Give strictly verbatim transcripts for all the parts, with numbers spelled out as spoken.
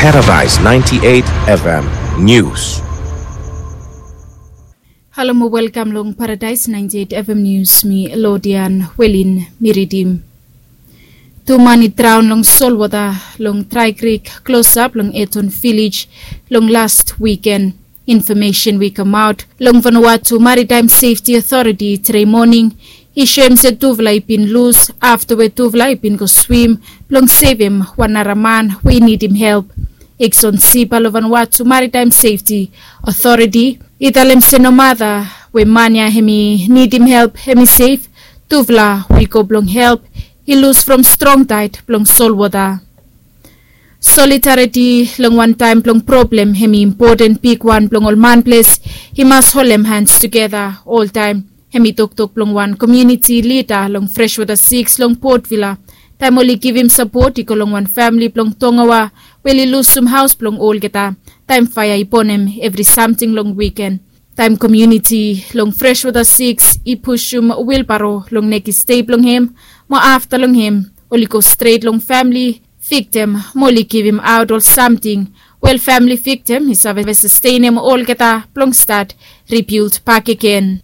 Paradise ninety-eight F M News. Halo mo welkam long Paradise ninety-eight F M News, mi Lodian Welin Miridim. Tu man i draon long solwota long Dry Creek, klosap long Eton Village long last wiken. Infomesen we i kamaot long Vanuatu Maritime Safety Authority tede moning i soem se tufala i bin lus afta we tufala i bin go swim blong sevem wan nara man we i nidim help. Exon Sipa long Vanuatu Maritime Safety Authority i talem se nomata we man ya hem i nidim help hem i sef, tufala we i go blong help i lus from strong taed blong solwota. Solidariti long wantaem blong problem hem i impoten bigwan blong ol manples i mas holem hans tugeta oltaem. Hem i toktok blong wan komuniti lida long Freshwater Six long Port Vila taem oli givim sapot i go long wan famili blong Tongawa we oli lusum haos blong olgeta taem faea i bonem evri samting long wiken. Taem komuniti long Freshwater Six i pusum wilbaro long nekis dei blong hem mo afta long hem oli go stret long famili viktim mo oli givimaot ol samting we ol famili viktim i save sastenem olgeta blong stat ribild bakegen.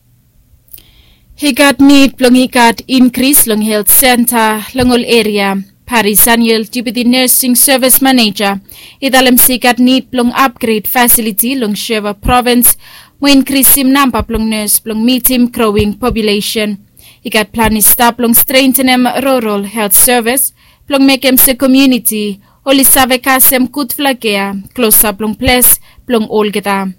I gat nid blong i gat inkris long helt senta long ol eria. Pari Saniel, Deputy Nursing Service Manager, i talem se i gat nid blong apgred fasiliti long Sheva provins mo inkrisim namba blong nes blong mitim growing populesen. I gat plan i stap blong strentenem rural helt sevis blong mekem se komuniti oli save kasem gudfala kea klosap long ples blong olgeta.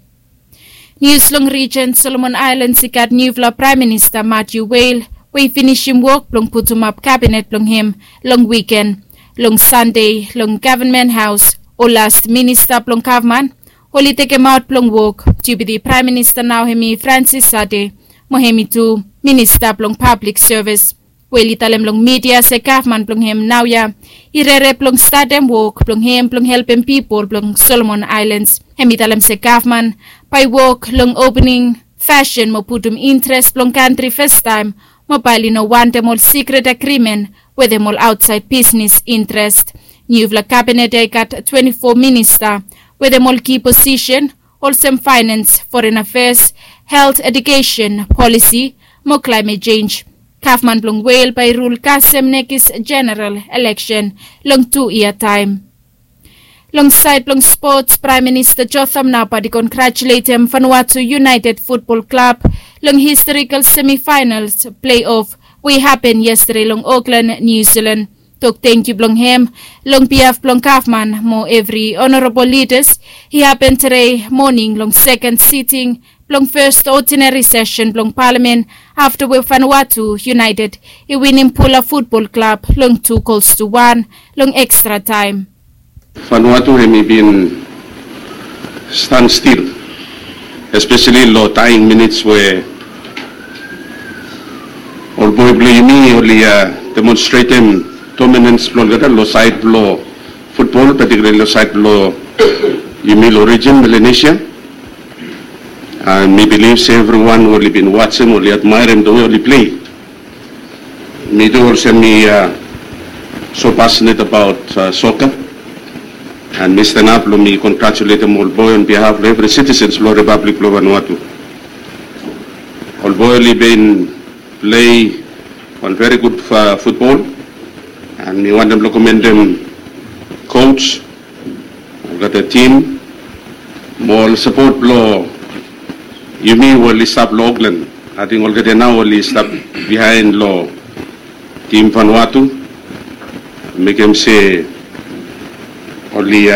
Nius long rijen Solomon Aelans i gat niufala Praem Minista Matthew Wale we i finisim wok blong putumap kabinet blong hem long wiken. Long Sande long Gavman Haos ol las minista blong gavman oli tekemaot blong wok. Deputi Praem Minista nao hem i Francis Sade mo hem i tu minista blong pablik sevis. Wale i talem long midia se gavman blong hem naoia i rere blong statem wok blong hem blong helpem pipol blong Solomon Aelans. Hem i talem se gavman bae i wok long opening fasin mo putum interes blong kantri fastaem mo bae oli no wantem ol sikret agrimen wetem ol aotsaed bisnes interes. Niufala kabinet ya i gat twante fo minista wetem ol ki posisen olsem faenans, foren afeas, helt, ejukesen, polisi mo klaemet jenj. Gavman blong Wale bae i rul kasem nekis jeneral eleksen long tu yia taem. Long saed blong spots, Praem Minista Jotham Napat i kongratuletem Vanuatu United Futbol Klab long historikal semifaenals pleiof we i hapen yestade long Oklan, Niu Silan. Tok tangkiu blong hem long biaf blong gavman mo evri onorabol lidas i hapen tede moning long seken siting blong fes odinari sesen blong palamen afta we Vanuatu United i winim Pula Futbol Klab long tu gols tu wan long ekstra taem. Vanuatu hem i bin stanstil, espeseli long daeing minits we ol boe blong yumi oli demonstretem dominans blong olgeta long saed blong futbol, patikulali long saed blong yumi long rijen Melanesia. Mi bilif se evriwan oli bin wajem, oli admaerem the way oli plei. Mi tu olsem mi so passionate about soccer, and mi stanap blong mi kongratuletem ol boe on behalf blong evri sitisens blong Ripablik blong Vanuatu. Ol boe oli bin plei wan veri gud futbol, and mi wantem blong komendem coach, olgeta tim mo ol sapot blong yumi we oli stap long Oklan. Ating olgeta nao oli stap biaen long tim Vanuatu, mekem se oli